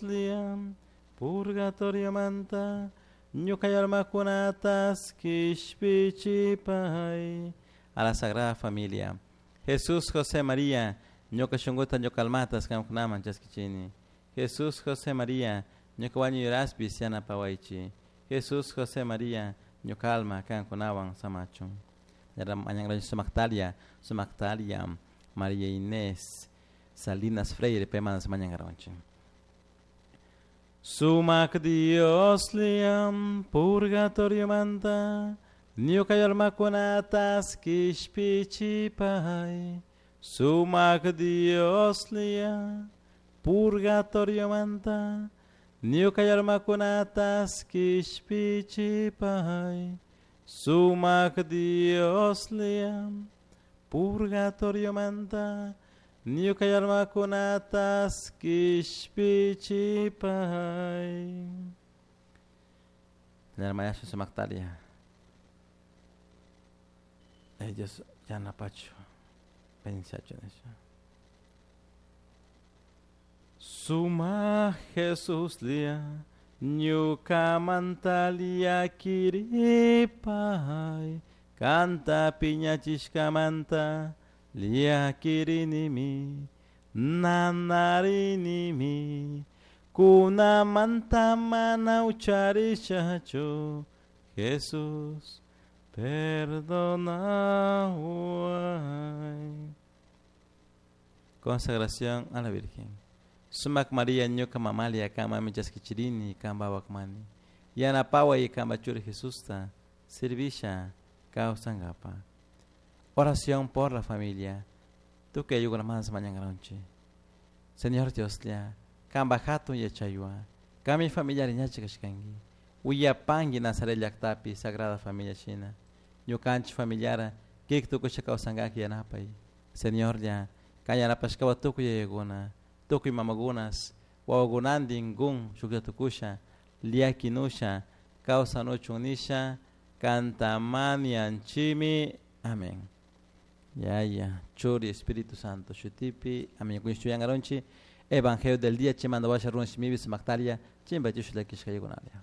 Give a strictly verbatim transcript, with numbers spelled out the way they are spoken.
Liam, purgatorio manta, ñuka almakunatas kishpichipay. A la Sagrada Familia. Jesús, José, María, ñuka shunkuta ñuka almatas qamkunaman chaskichini. Jesús, José, María, ñuka wañuyraspis yanapawaychi. Jesús, José, María, ñuka alma qamkunawan samachun. Sumaktalia, Sumaktalia, María Inés, Salinas Freire, paymanas mañankaranchik. Sumak Dios liam, purgatorio manta, ñuka almakunatas kishpichipay. Sumak Dios lia, purgatorio manta, ñuka almakunatas kishpichipay. Sumak Dios lia, purgatorio manta, ñuka almakunatas kishpichipay. Hermana Sumaktalia. Dios yanapachu. Pensachu nisha. Suma Jesus lia, ñuka mantalia kiripay, kanta piñachishkamanta, lia kirinimi, nanarinimi, kunamanta mana ucharishachu, Jesús, perdonaway. Consagración a la Virgen. Sumak María ñuka mamalia kama michaskichirini kamba wakmani. Yanapawa y kamba churi Jesusta servisha kawsankapa. Oración por la familia. Tu que más mañana. Señor Dios lia, kamba hatun yachaywa, kami familiar ñachi kashkanki. Uyapangi Nazaret llaqtapi Sagrada Familia China. Ñukanchik familiara kik tukusha kawsankaki yanapay. Señor lia, kan yanapashkawa tukuy yayakuna, tukuy mamakunas, wawakunantin kun shuklla tukusha, liakinusha, kawsanuchun nisha, kantamanianchimi. Amén. Yaya, Churi, Espíritu Santo, Shutipi, amén. Kuñishtuyangaronchi, Evangelio del día, chimanda washa run shimibi sumaktaria, chimba chishula kishkayikunalia.